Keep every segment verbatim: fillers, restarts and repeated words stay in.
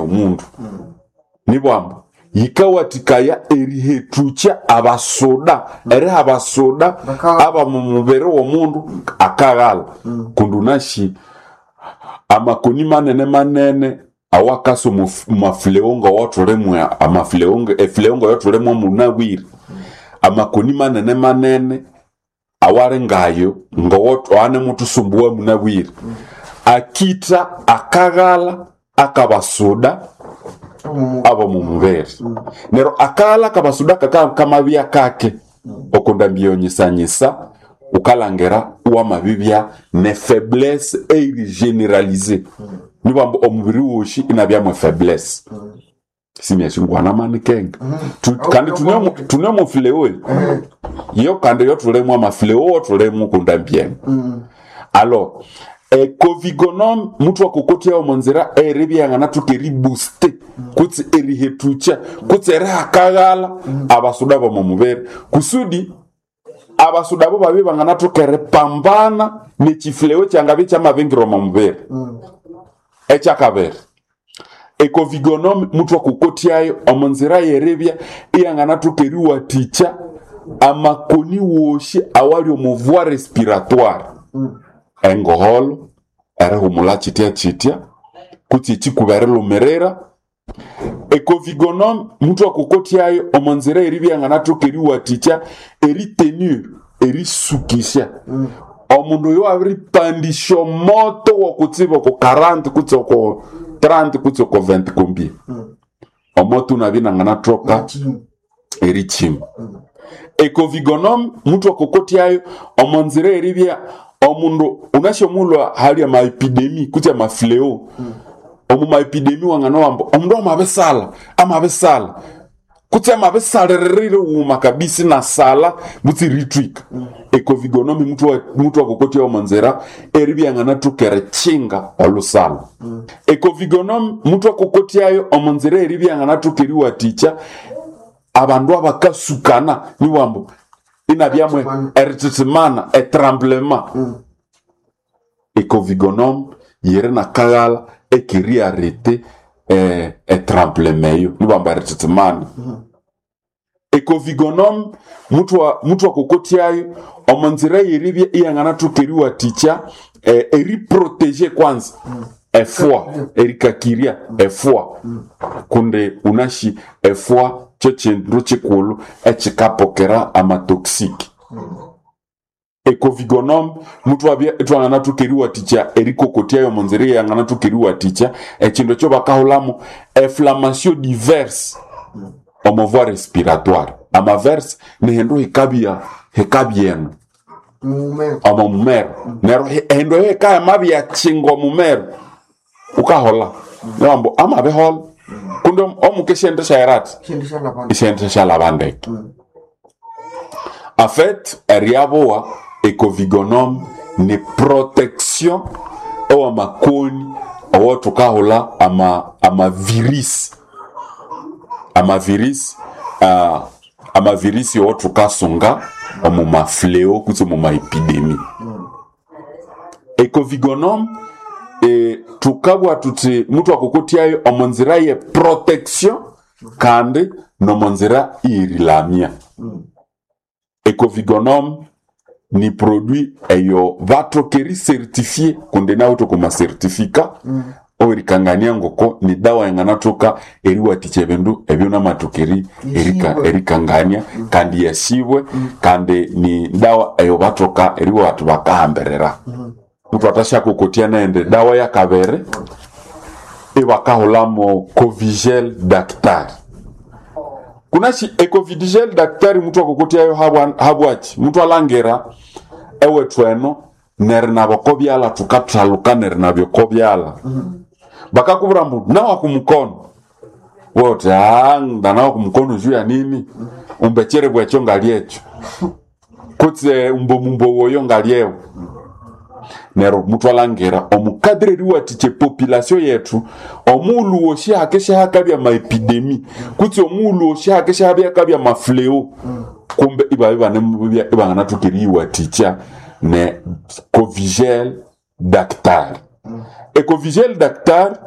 omundu nibwambu yikawathikaya erihethucha abasuda eriha abasuda Baka- aba mu mubiri w'omundu akaghala kundi unashi amakoni manene manene awakasa omu mafuleongo awathulimwa amafuleongo efuleongo eyathulimwa munabwire amakoni manene manene awali ngayo ngawanemuthusumbuwa munabwire akitha akaghala akabasuda abo mumubiri neryo akaghala akabasuda kaka kamabya kake okundambiyonyisanyisa ukalangira wamabibya ne faiblesse eiri generalisée nibwamba omubiri woshi inabyamwe faiblesse simyashingwana manikenga Tu- kandi tunemo- tunemo fileo yo kandi yo tulemu amafileo tulemu kundambyene alors ecovigonom mutu akokotia omonzira eribyangana tukeribuste kutsi erihetucha kutsi erihakaghala abasuda bomomubiri kusudi abasuda bo babi bangana tukeripambana nechifileo kyangabi kyamabingira omomubiri ekyakabiri ecovigonom mutu akokotyayo omonzira yeribya iyangana tukeriwathikya amakoni woshi awali omu voie respiratoire engoholo erihumula chitya chitya kutsi ekikuba erilumirira ecovigonom mutu akokotyayo omonzira eribya anganathoka eriwathikya eritenir erisukisya omundu oyo abiripandisya omoto wokutsiba oko quarante kutsi oko trente kutsi oko vingt combien omoto unabya inanganathoka erichima ecovigonom mutu akokotyayo omonzira eribya omundu unashyomulwa hali amaepidemi kutsi amafleo omu maepidemi wangana wamba omundu amabisala amabisala kutsi amabisalirire wuma kabisa nasala butsi ritwika ecovigonomi mutu wa- mutu akokotya omonzira eribya anganathoka erichinga olusalo ecovigonomi mutu akokotyayo omonzira eribya anganathoka eriwathikya abandu abakasukana niwambo inabyamwe erititimana etremblement ecovigonom yiri nakaghala ekeriarete eh, etremblement eyo niwambo erititimana ecovigonom mutu wa- mutu akokotyayo omonzira yeribya iyanganathoka eriwathikya eh, eriprotege kwanza efwa erikakirya efwa kundi unashi efwa kyo kindu kikulhu ekikapokera amatoxiki ecovigonom mutu abya itwanganathoka eriwathikya erikokotyayo omonzira iyanganathoka eriwathikya ekindu ekyo bakahulhamu eflammation diverse omo voie respiratoire amaverse nihindu hikabya hikabyenu Mumero. omo mumero neryo hi- ehindu eyo hikayamabya kyinga omumero ukahola niwambu amabihola kundi omuka esyendi syayirati Shindu shalabana. isente syalabandeke en fait eryabowa ecovigonom ni protection owamakoni owothukahulha ama amavirisi amavirisi uh, amavirisi owothukasunga omu mafleo kutse omu maepidemi ecovigonom e, tukabwa tuthi mutu akokotyayo omonzira ye protection kandi nomonzira iyerilamya ecovigonom ni produit eyo bathoka ericertifie kundi nawe thokoma certificat owerikangania ngoko ni dawa yanganathoka eriwathikya ebindu ebyo namathoka eri- erika- Yashibwe. erikangania kandi yashibwe kandi ni dawa eyo bathoka eriwa bakahambirira muthu atashyakokotya nende dawa yakabere ibakahulamo covigel dactar kunashi ecovidigel daktari muthu akokotyayo habwa- habwachi muthu alangira ewethu eno neri naboko byala thukathaluka neri nabyoko byala bakakubwira mbu nawa kumukono wote "Ah, ndanawa kumukono juu ya nini umbechere bwecho ngalyecho kutse umbomumbo woyo ngalyewo neryo muthu alangira omukadiri eriwathikya epopulation yethu omughulhu wosi hakesya maepidemi kutse omughulhu wosi hakesya habya mafleo kumbe ibabya ibanemubya ibanganathoka eriyiwathikya ne covigel dactar ecovigel dactar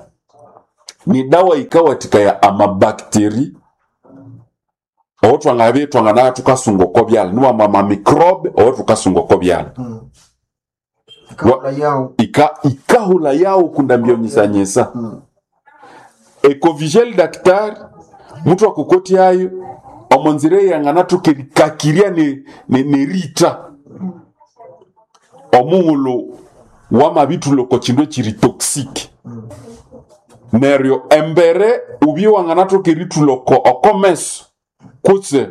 Ni dawa ikawatikaya amabactéries owo twangabye twangana tukasunga oko byala, niwamba amamicrobe owo tukasunga oko byala. Ikahula yawo. Ika, ikahula yawo kundambyonyisanyisa. Mm. Ecovigel daktari muthu akokotyayo omonzira eyang'anathoka erikakirya ne- ne- nerita omughulhu wamabithulha oko kindu ekiri toxic. Neryo embere ubye wanganathoka erithulha oko oko meso kutse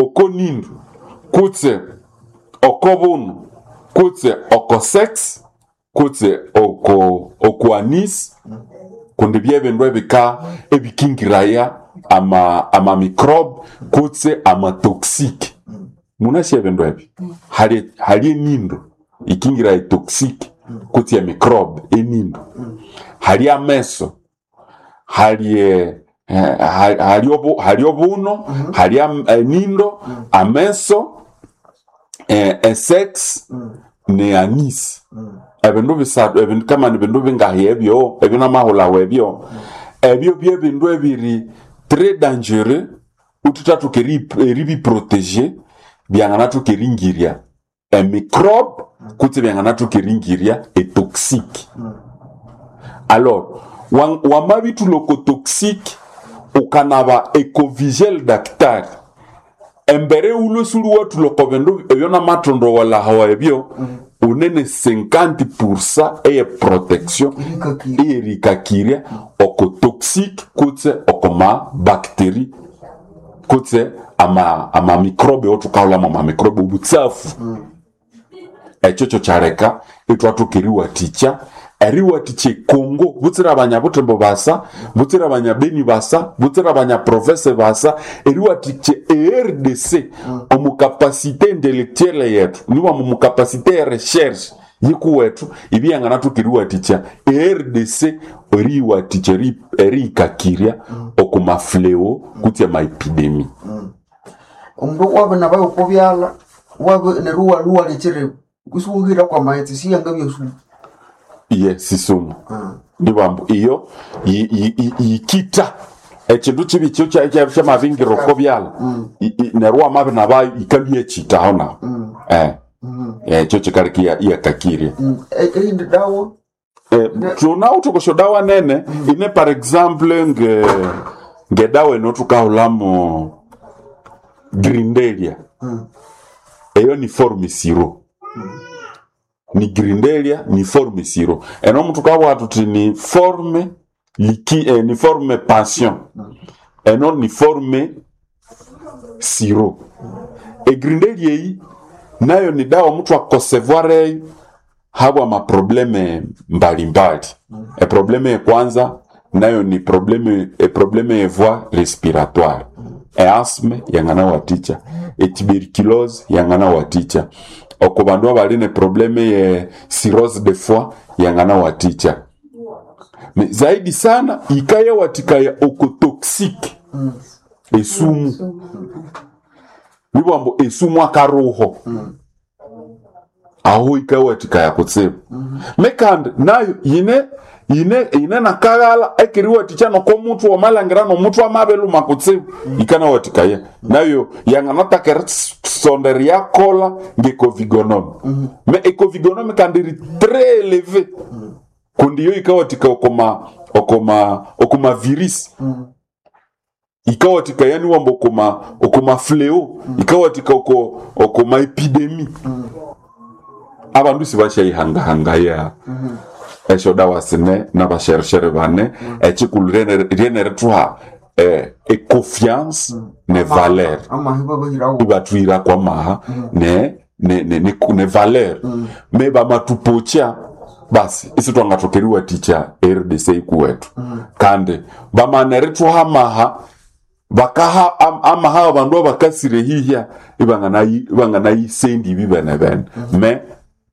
oko nindu kutse oko bunu kutse oko sex kutse oko oko anus, kundi byebindu ebika ebikingiraya ama ama microbe kutse ama toxic. Munasi ebindu ebyo hali hali enindo ikingira etoxic kutse ya microbe enindo, hali ameso, hali eh, eh, hali obu, hali obuno, hali am- enindo, ameso, eh, esex ne anus. Ebindu bisathu ebindu kama ni bindu bingahi ebyo ebyo namahulawo ebyo ebyo byebindu ebiri très dangereux ututhathoka eri- eribiprotéger, byanganathoka eringirya emicrobe kutse byanganathoka eringirya etoxique. Alors wa- wamabithulha oko toxique ukanaba ecovigel daktari embere ulwe suli wathulha oko bindu ebyo namathondowolahawa ebyo unene cinquante pourcent eye protection Erikakirya. Eyerikakirya oko toxique kutse oko ma bactérie kutse ama ama microbe othukahulhamu ama microbe obutsafu. Ekyo kyo kyaleka ithwathoka eriwathikya eriwathikya ekongo butsira abanyabuthembo basa, butsira abanyabeni basa, butsira abanyaprovince basa, eriwathikya e R D C omu capacité intellectuelle yethu, niwama omu capacité ya recherche yikuwethu ibyanganathoka eriwathikya e R D C eriyiwathikya eri- eriyikakirya oku mafléau kutse amaépidémie. Omundu wabe nabayo oko byala wabe neryo iwalhuwa kusiwuhira kwa maghetse siyangabya sumu. Iye sisumu nibambu iyo yi- yi- yi- yikita ekindu kibi kyo kya- kya- kyamabingira oko byala. I- i- neryo wamabya nabayo ikalwa iyakita aho naho eh ekyo kikaleka iya- iyakakirya. Eyindi dawa? Eh, tunawithe oko syodawa nene ine, par exemple nge ngedawa eno tukahulhamu grindelia. Eyo ni forme sirop, ni grindelia ni forme sirop. Eno mutu kabugha tuthi ni forme liki, eh, ni forme pension, eno ni forme sirop. Egrindelia eyi nayo ni dawa muthu akosevoir eyo habwa maproblème mbalimbali. Eproblème ya kwanza nayo ni problème eproblème ya voie respiratoire, easthme yangana watikya, etuberculose yangana watikya, oko bandu abali ne problème ye cirrhose de foie yangana watikya. Me zaidi sana ikaya watikaya oko toxique, esumu, nibwambo esumu akaruho aho ikawatikaya kutsibu. Mekandi nayo yine yine yine nakaghala ekeriwatikya noko muthu wamalhangira nomuthu amabeluma kutsibu ikanawatikaya nayo yanganataka erisondera yakola ngecovigonome. Me ecovigonome kandi iri très élevé kundi yo ikawatika okoma okoma okoma virus, ikawatika yani wamba okoma okoma fléau, ikawatika oko okoma épidémie. Abandu sibashayihangahanga ya esyo dawa sine n'abasherishere bane. Ekikulu ryenerithuha eh, econfiance ne valeur. Amahi babahirawo. Ibathuhira kwa maha ne ne, ne, ne, ne valeur me bamatupocha basi isi twangathoka eriwathikya R D C ikuwethu kandi bamana erithuha amaha bakaha am, amaha abandu abakasire hihya ibanganayi ibanganayisendi ibi bene bene me.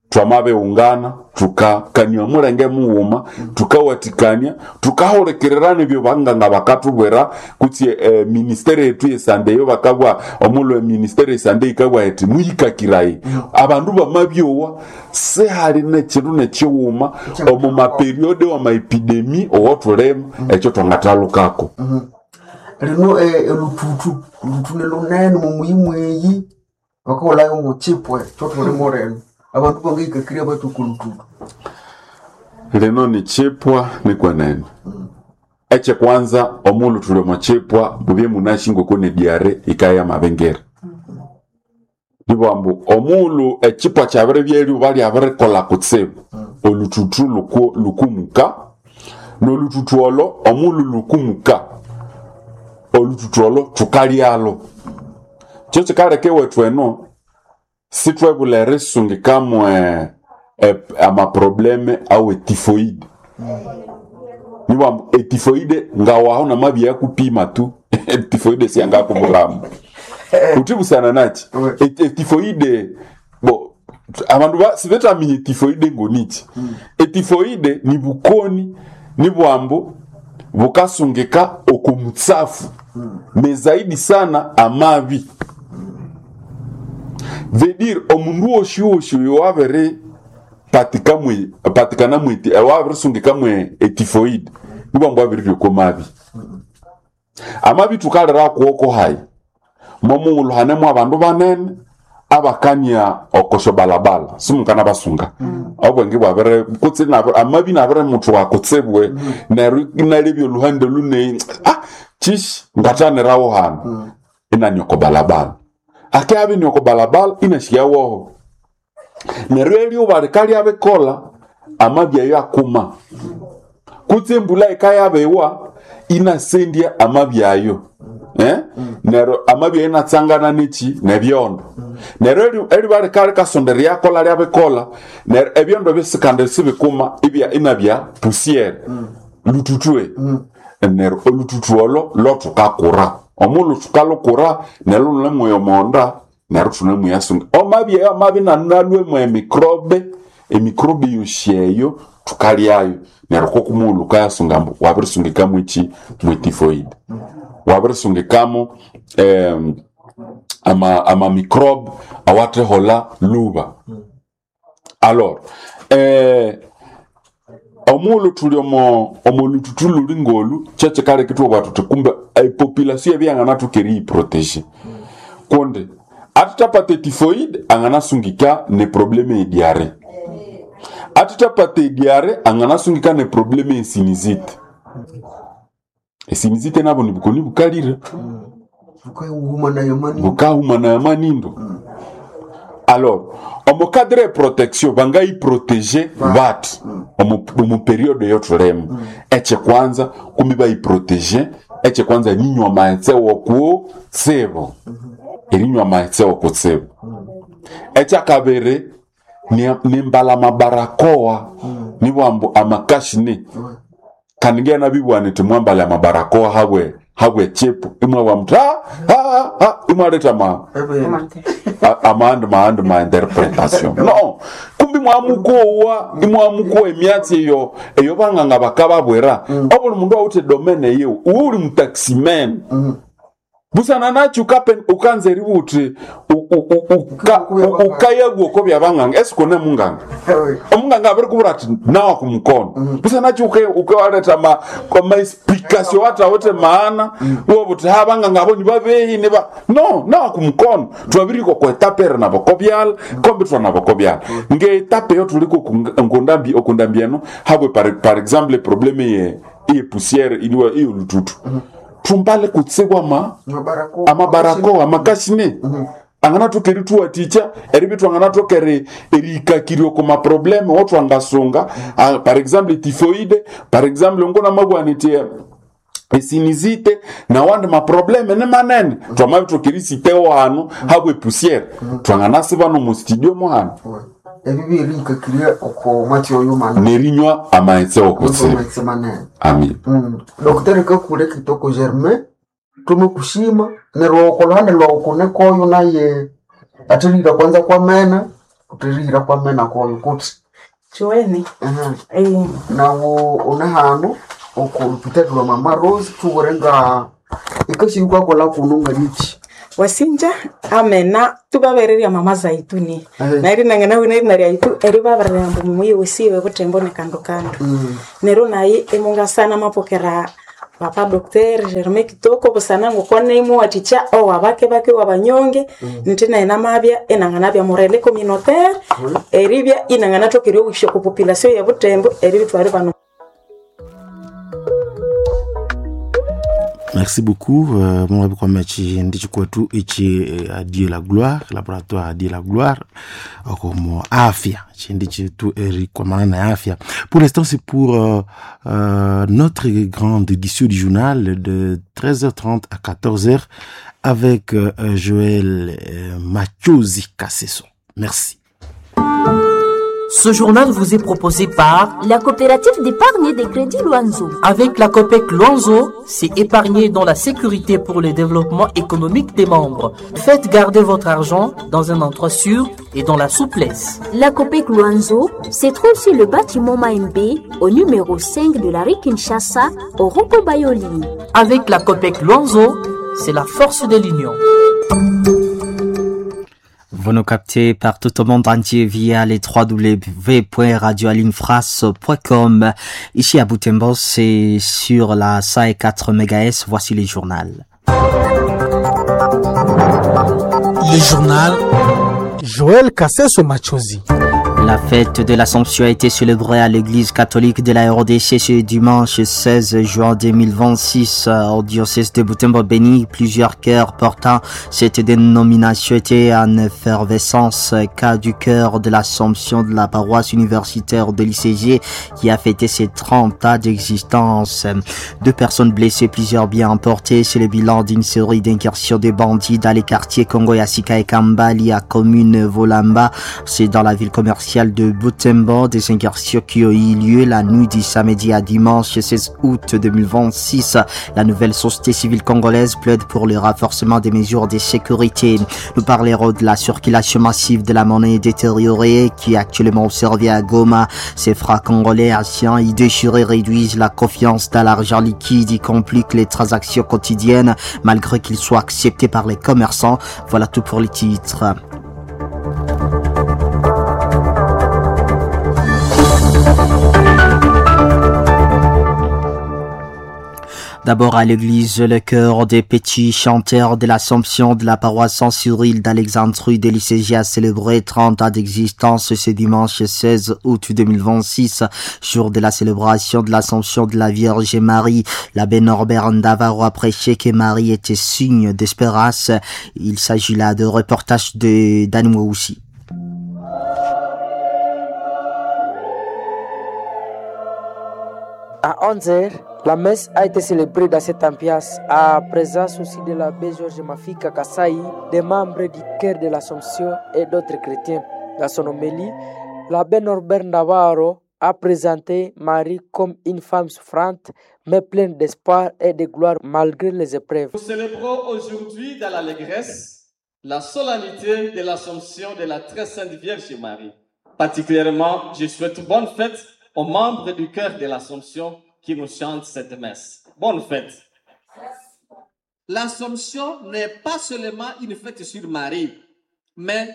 Twamabiungana tukakania mulenge mughuma, tukawatikania, tukahulikirira ebyo banganga bakatubwira kutse eh, ministeri yetu yesande eyo bakabwa omulwe ministeri yesande ikabwa eti muyikakirayi abandu bamabyowa sihali nekindu nekighuma omu maperiode wamaepidemi owotulimo ekyo twangathalukako. Lino eh, eluthutu oluthu nilunene mumuyi mweyi bakahulayo muchipwe kyotulimo lino abandu bangayikakirya bathi oko luthutu. Lino ni chipwa nikwenene ekyekwanza omulhu thuli omo chipwa mubye munashi ngoko ne diare ikaya mabengere nibwambu omulhu echipwa kyabiribya eryuba lyabirikola kutsibu oluthuthu luku- lukumuka noluthuthu olo omulhu lukumuka oluthuthu olo thukalyalo kyo kikaleka ewethu eno sithwebula erisungikamu eh, eh, amaprobleme awe tifoide nibwambu etifoide ngawaho namabya yakupima tu etifoide siyangakubulamu utibusana nachi Oui. Et- etifoide bo abandu ba- sibetaminya etifoide ngonichi etifoide ni bukoni ni bwambu bukasungika okumutsafu mezaidi sana amabi vedir omundu woshiwoshi oyo wabiri patikamwe patikana mweti wabirisungika etifoide nibwambu wabirirya mabi amabi thukalira kuwoko hayi momughulhu hanemu abandu banene abakania okosho balabala simukana basunga obwenge bwabere kutse nabere amabi nabere muthu wakutsibwe neryo inalebya oluhande luneyi ah chishi ngathanirawo hano inani oko balabala ake abini oko balabala inashiyawoho neryo eryuba likalyabikolha amabi ayo akuma kutse embula ikayabiwa inasendya amabi ayo eh? Neryo amabi ayo inatsangana neki nebyondo neryo eri- eriba likalikasonda eryakola lyabikola neryo ebyondo bisikanda sibikuma ibya inabya pusiere lututwe neryo olututu olo lothukakura omulhu thukalukura neryo lunemweya omonda neryo thunemweyasunga omabi ayo amabi nanalwemu emikrobe emikrobe yosi eyo thukalyayo neryo kokumughulhu ukayasunga ambu wabirisungikamu eki mwetifoide wabirisungikamu em, ama, ama microbe awathehola luba alors eh, omughulhu thuli omo omolututu luli ngolu kyekikaleka ithwabugha thuthi kumbe epopulation ebyanganathoka eriyiproteger kundi athithapata etifoide anganasungika ne probleme ye diare athithapata ediare anganasungika ne probleme ye sinizite esinizite nabo nibukoni bukalire bukahuma nayo mani bukahumana ya manindo alors omu cadre ya protection bangayiproteger bati omu omu periode yothulimo ekyekwanza kumi bayiproteger ekyekwanza ninywa amaghetse wokutsibu erinywa amaghetse wokutsibu ekyakabiri ni- nimbala amabarakoa nibwambu amakashine kandi ngena bibwana iti mwambale amabarakoa habwe habwe chipu imwe mtu ha ha ha imwaleta ma a- amandi maandi ma interpretation no kumbi mwamukowa imwamukowa emyatsi eyo eyo banganga bakababwera obuli mundu awuthe domene yewu uwe uli mutaximan busana nachi ukapen ukanza eributhi ukayagwa oko byabanganga esikone munganga omunganga abirikubwira ati nawa kumukono busana nachi ukawaleta ma ma explication watawete maana wobuthi ha banganga abo nibabehi niba no nawa kumukono twabiriko kwetapere nabo kobyala kombi twanabo kobyala ngeetape yo tuliko nkundambi okundambi eno habwe par, par exemple probleme ye iye poussière iliwa iyo lututu tumbale kutsigwa ma amabarakoa amabarakoa amakashine anganathoka erithuwathikya eribya anganathoka eri- erihikakirya oko maprobleme otwangasunga Ah, par exemple tifoide par exemple ngonamabwana iti esinizite nawandi maprobleme ni manene twamabithoka erisitewo hano habwe pusiere twanganasiba nomu studio muhano ebi birikakirya oko mwatsi oyo mana nerinywa amaghetse wokutsibu amaghetse manene amin Mm. Dokitari Kakule Kitoko Germain tumukushima neryo okoluhande lwawu kunekoyo naye athelira kwanza kwamena Uterihira kwamena koyo kuti Chueni. Ehe. Eh, Nawo une hano oko lupitali lwa Mama Rose thuwere nga ikashirikwakola kuno nga niki wasinja amena tubabereria mama zaituni Eh. nairi nangana wina rya itu eri baberera mbu mumuyi wesiwe butembo ne kando kando Mm. nero nayi emungasana mapokera papa docteur Germain Kitoko busana ngukone imuwaticha owa bake bake wabanyonge mm. nti naye namabya enangana bya morele communautaire eribya inangana tokerio wisho ku population ya butembo eribitware bano. Merci beaucoup. Euh, mon ami ndichikwetu ichi eh, Adieu la gloire, laboratoire Adieu la gloire, comme afya chindi chetu erikwamana na afya. Pour l'instant, c'est pour euh, euh, notre grande édition du journal de treize heures trente à quatorze heures avec euh, Joël euh, Machozi Kasseso. Merci. Ce journal vous est proposé par la coopérative d'épargne et de crédit Luanzo. Avec la COPEC Luanzo, c'est épargner dans la sécurité pour le développement économique des membres. Faites garder votre argent dans un endroit sûr et dans la souplesse. La COPEC Luanzo se trouve sur le bâtiment Maembe, au numéro cinq de la rue Kinshasa, au Rocco Bayoli. Avec la COPEC Luanzo, c'est la force de l'union. Vous nous captez partout au monde entier via les w w w point radio alinfras point com. Ici à Butembo, c'est sur la cent quatre mégahertz. Voici les journaux. Le journal Joël Kasseso Machozi. La fête de l'Assomption a été célébrée à l'église catholique de la R D C ce dimanche seize juin deux mille vingt-six au diocèse de Butembo-Beni. Plusieurs chœurs portant cette dénomination étaient en effervescence. Cas du chœur de l'Assomption de la paroisse universitaire de l'I C G qui a fêté ses trente ans d'existence. Deux personnes blessées, plusieurs biens emportés. C'est le bilan d'une série d'incursions des bandits dans les quartiers Congo Yasika et Kambali à commune Volamba. C'est dans la ville commerciale de Butembo, des incursions qui ont eu lieu la nuit du samedi à dimanche seize août deux mille vingt-six. La nouvelle société civile congolaise plaide pour le renforcement des mesures de sécurité. Nous parlerons de la circulation massive de la monnaie détériorée qui est actuellement observée à Goma. Ces francs congolais anciens et déchirés réduisent la confiance dans l'argent liquide et compliquent les transactions quotidiennes malgré qu'ils soient acceptés par les commerçants. Voilà tout pour les titres. D'abord à l'église, le chœur des petits chanteurs de l'Assomption de la paroisse Saint-Cyril d'Alexandrie de l'I C G a célébré trente ans d'existence ce dimanche seize août deux mille vingt-six, jour de la célébration de l'Assomption de la Vierge Marie. L'abbé Norbert Ndavaro a prêché que Marie était signe d'espérance. Il s'agit là de reportages de Danououssi. À onze heures, la messe a été célébrée dans cette ambiance, à présence aussi de l'abbé Georges Mafika Kassai, des membres du chœur de l'Assomption et d'autres chrétiens. Dans son homélie, l'abbé Norbert Navarro a présenté Marie comme une femme souffrante, mais pleine d'espoir et de gloire malgré les épreuves. Nous célébrons aujourd'hui dans l'allégresse la solennité de l'Assomption de la très sainte Vierge Marie. Particulièrement, je souhaite bonne fête aux membres du chœur de l'Assomption qui nous chantent cette messe. Bonne fête. L'Assomption n'est pas seulement une fête sur Marie, mais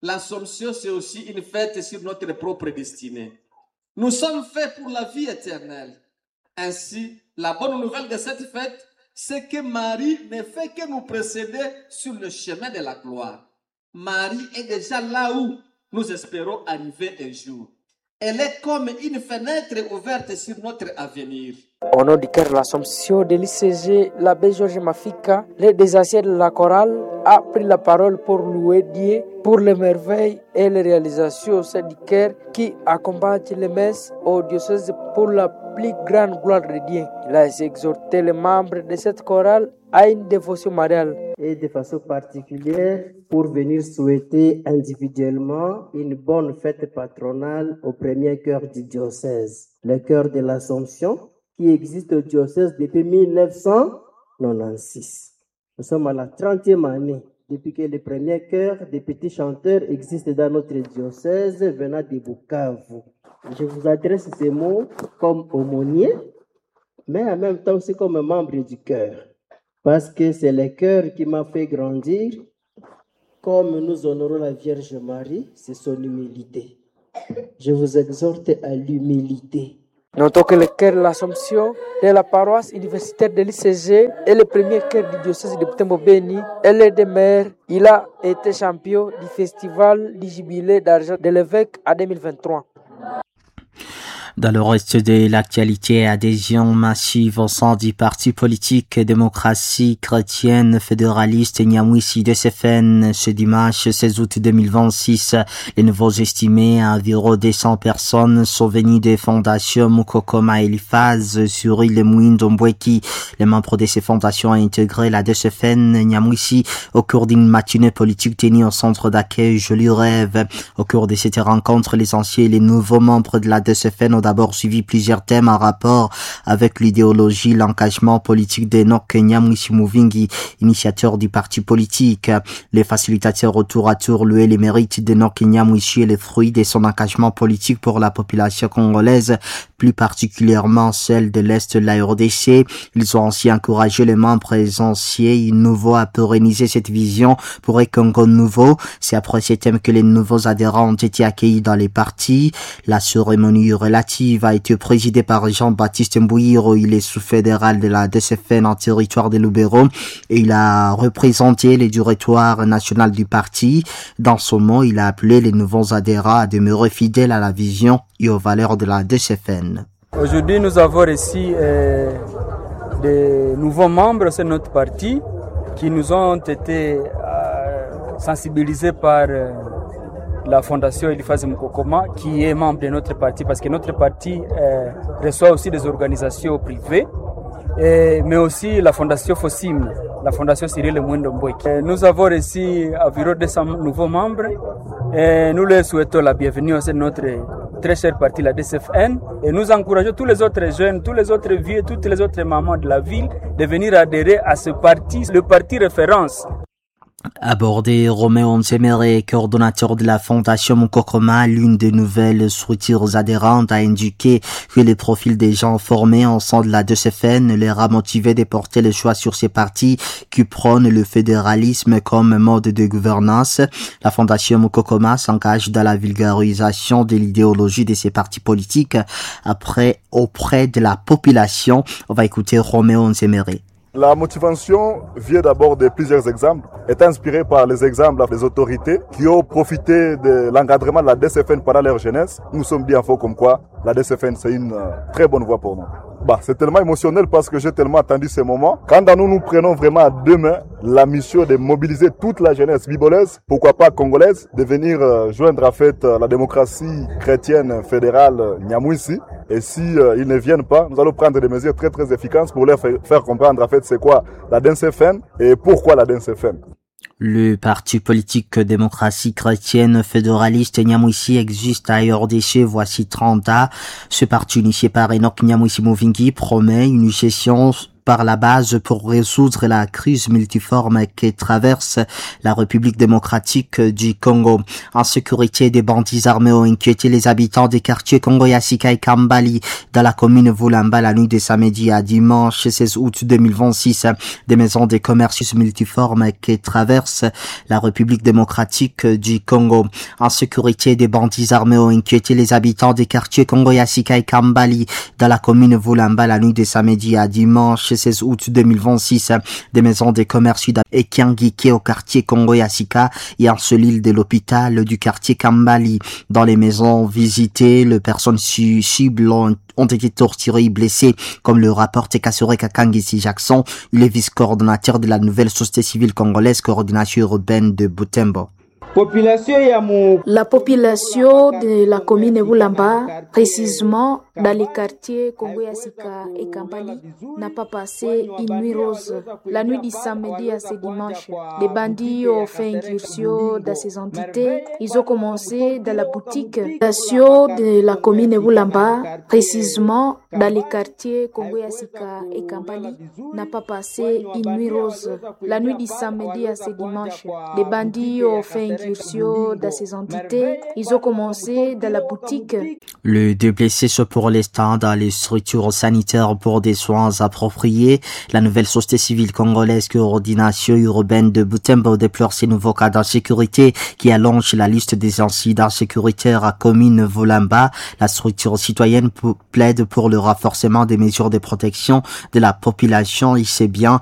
l'Assomption, c'est aussi une fête sur notre propre destinée. Nous sommes faits pour la vie éternelle. Ainsi, la bonne nouvelle de cette fête, c'est que Marie ne fait que nous précéder sur le chemin de la gloire. Marie est déjà là où nous espérons arriver un jour. Elle est comme une fenêtre ouverte sur notre avenir. Au nom du chœur de l'Assomption de l'I C G, l'abbé Georges Mafika, l'un des anciens de la chorale, a pris la parole pour louer Dieu pour les merveilles et les réalisations au sein du chœur qui accompagne les messes au diocèse pour la plus grande gloire de Dieu. Il a exhorté les membres de cette chorale à une dévotion mariale. Et de façon particulière pour venir souhaiter individuellement une bonne fête patronale au premier chœur du diocèse, le chœur de l'Assomption, qui existe au diocèse depuis mille neuf cent quatre-vingt-seize. Nous sommes à la trentième année Depuis que le premier chœur des petits chanteurs existe dans notre diocèse venant de Bukavu. Je vous adresse ces mots comme aumônier, mais en même temps aussi comme membre du chœur. Parce que c'est le chœur qui m'a fait grandir. Comme nous honorons la Vierge Marie, c'est son humilité. Je vous exhorte à l'humilité. Notons que le chœur de l'Assomption de la paroisse universitaire de l'I C G est le premier chœur du diocèse de Butembo-Beni et l'un des maires. Il a été champion du festival du jubilé d'argent de l'évêque en deux mille vingt-trois. Dans le reste de l'actualité, adhésion massive au sein du parti politique démocratie chrétienne fédéraliste Nyamwisi D C F N ce dimanche seize août deux mille vingt-six. Les nouveaux estimés à environ deux cents personnes sont venus des fondations Mukokoma Eliphaz sur île Mwindo Mbweki. Les membres de ces fondations ont intégré la D C F N Nyamwisi au cours d'une matinée politique tenue au centre d'accueil Joli Rêve. Au cours de cette rencontre, les anciens et les nouveaux membres de la D C F N ont d'abord suivi plusieurs thèmes en rapport avec l'idéologie, l'engagement politique d'Enoch Nyamwisi Muvingi, initiateur du parti politique. Les facilitateurs au tour à tour louaient les mérites d'Enoch Nyamwisi et les fruits de son engagement politique pour la population congolaise, plus particulièrement celle de l'Est de la R D C. Ils ont ainsi encouragé les membres anciens et nouveaux à pérenniser cette vision pour un Congo nouveau. C'est après ces thèmes que les nouveaux adhérents ont été accueillis dans les partis. La cérémonie relative a été présidée par Jean-Baptiste Mbouiro. Il est sous-fédéral de la D C F N en territoire de Lubero et il a représenté le directoire national du parti. Dans son mot, il a appelé les nouveaux adhérents à demeurer fidèles à la vision et aux valeurs de la D C F N. Aujourd'hui, nous avons reçu euh, des nouveaux membres de notre parti qui nous ont été euh, sensibilisés par euh, la fondation Eliphaz Mukokoma, qui est membre de notre parti, parce que notre parti euh, reçoit aussi des organisations privées, et, mais aussi la fondation Fossim, la fondation Cyril Mwindo Mbweki. Nous avons reçu environ deux cents nouveaux membres et nous leur souhaitons la bienvenue au sein de notre très cher parti, la D C F N, et nous encourageons tous les autres jeunes, tous les autres vieux, toutes les autres mamans de la ville de venir adhérer à ce parti, le parti référence. Abordé Roméo Nsemere, coordonnateur de la fondation Mukokoma, l'une des nouvelles structures adhérentes, a indiqué que les profils des gens formés en sein de la D C F N leur a motivé de porter le choix sur ces partis qui prônent le fédéralisme comme mode de gouvernance. La fondation Mukokoma s'engage dans la vulgarisation de l'idéologie de ces partis politiques après auprès de la population. On va écouter Roméo Nsemere. La motivation vient d'abord de plusieurs exemples, est inspirée par les exemples des autorités qui ont profité de l'encadrement de la D C F N pendant leur jeunesse. Nous sommes bien faux comme quoi la D C F N, c'est une très bonne voie pour nous. Bah, c'est tellement émotionnel parce que j'ai tellement attendu ce moment. Quand nous nous prenons vraiment à deux mains la mission de mobiliser toute la jeunesse bibolaise, pourquoi pas congolaise, de venir joindre en fait la démocratie chrétienne fédérale Nyamwisi. Et si euh, ils ne viennent pas, nous allons prendre des mesures très très efficaces pour leur faire comprendre en fait c'est quoi la D C F N et pourquoi la D C F N. Le parti politique démocratie chrétienne fédéraliste Nyamwisi existe à R D C voici trente ans. Ce parti initié par Enoch Nyamwisi Muvingi promet une gestion par la base pour résoudre la crise multiforme qui traverse la République démocratique du Congo. En sécurité, des bandits armés ont inquiété les habitants des quartiers Congo Yasika et Kambali dans la commune Vulamba la nuit de samedi à dimanche seize août deux mille vingt-six. Des maisons des commerces multiformes qui traversent la République démocratique du Congo. En sécurité, des bandits armés ont inquiété les habitants des quartiers Congo Yasika et Kambali dans la commune Vulamba la nuit de samedi à dimanche seize août deux mille vingt-six. Des maisons des commerces et Kiangike au quartier Congo Yasika et en l'île de l'hôpital du quartier Kambali. Dans les maisons visitées, les personnes cibles ont, ont été torturées et blessées, comme le rapporte Kasore Kakangisi Jackson, le vice-coordonnateur de la nouvelle société civile congolaise, coordination urbaine de Butembo. Population ya mu La population de la commune Vulamba, précisément dans les quartiers Congo ya Sika et Kambali, n'a pas passé une nuit rose. La nuit du samedi à ce dimanche, les bandits ont fait incursion dans ces entités. Ils ont commencé dans la boutique Population de la commune Vulamba, précisément dans les quartiers Congo ya Sika et Kambali, n'a pas passé une nuit rose. La nuit du samedi à ce dimanche, les bandits ont fait incursion dans ces entités. Ils ont commencé dans la boutique. Le deux blessés sont pour l'instant dans les structures sanitaires pour des soins appropriés. La nouvelle société civile congolaise coordination urbaine de Butembo déplore ces nouveaux cas d'insécurité qui allongent la liste des incidents sécuritaires à commune Vulamba. La structure citoyenne plaide pour le renforcement des mesures de protection de la population. Il sait bien